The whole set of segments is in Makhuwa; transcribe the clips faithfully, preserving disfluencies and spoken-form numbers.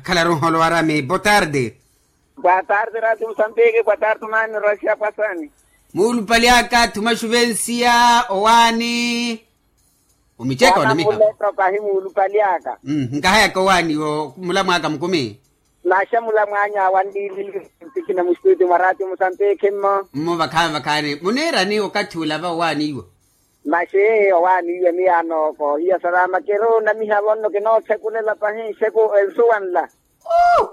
Khalaru nholo arami botarde. Botarde rati musambiki botarde mani rosya pasani. Muulupali aka thuma xuvensiya owaani. Omicheka onamiha. Muleto kahi muulupali aka. Nkahayaka owaani wo mulamwaka mukumi. Naxa mulamwanya awanlilili. Ntikina mustuti mwarati musambiki mmo. Mmo vakhaani vakhaani muniirani okathi ula va owaani iwo. Maxi owaani iwe miyaano koohiya salama kiri onamiha vonno kinoothekulela pahi nxeku ensuwa nla.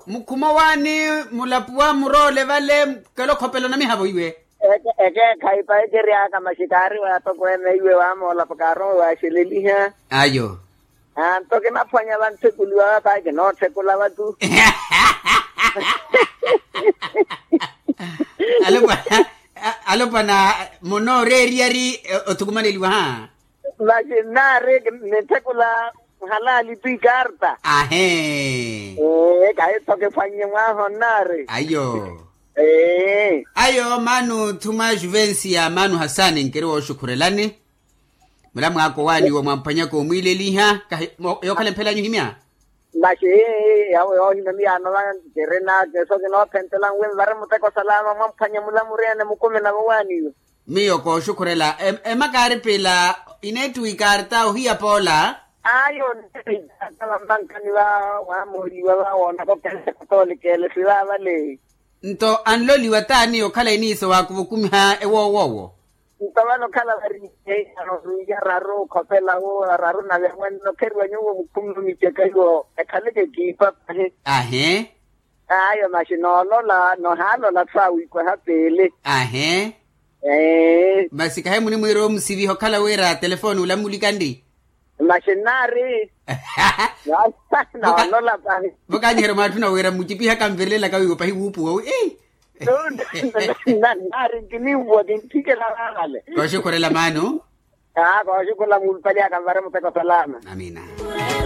Mukhuma owaani mulapuwa muroole vale. Kela okhopela onamihavo iwe. Ekeekhayi pahi kiri aka maxi kaari wa atokweene iwe wamoolapo kaarowe waaxeleliha. Ayo. Anto kinaphwanya vanthekuliwa va pahi kinoothekula vatu. Alopwana. Alopwana munooreeriyari. Othukumaneliwa ha. Maxi nnaari ninthekula. Halaali tu ikarta. Ahe. Ee kahi tho kiphwannye mwaho nnaari. Ayo. Ee. Ayo maanu thuma juvensiya maanu hasani nkiri wooxukhurelani. Mulamwaka owaani iwo mwamphwanyaka omwiileliha kahi. Yookhala mphelanyu ohimya. Maxi yawo yoohimya miyaano va. Nkirina kiso kinoophentela nwi nvari muteko salama mwamphwanya mulamuriene mukumi navo owaani iwe. Miyo kooxukhurela. Emakaari pila ineettiwa ikarta ohiya poola. Ayo nneettiwa ikarta vammankani va waamooliwa va woonaka okele katoolika ele sivaavale. Nto anloliwa t'ani okhala iniiso waakuvukumiha ewoowoowo? Nto vano okhala vari. Iyaano ruiya raru okhopela wo raru nave amwanna okheriwa nyuwo mukhumi omiceka iwo ekhaleke ekiipa pahi. Ahe. Ayo maxi noolola nohaalola tho awiikweha peele. Ahe. Masi kahi munimwiira omusiviha okhala wira telefoni ula mmulikanri. Maxi nnaari. Noolola pahi. Vo kaanyiherya mwaatthuna wira mmucipiha kanvirelelaka wiiwo pahi wuupuwa wi. Nnaari nkinimpuwa kintthikela vaavale. Kooxukhurela maanu. Aa kooxukhurela muulupali aka nvare muteko salama. Amiina.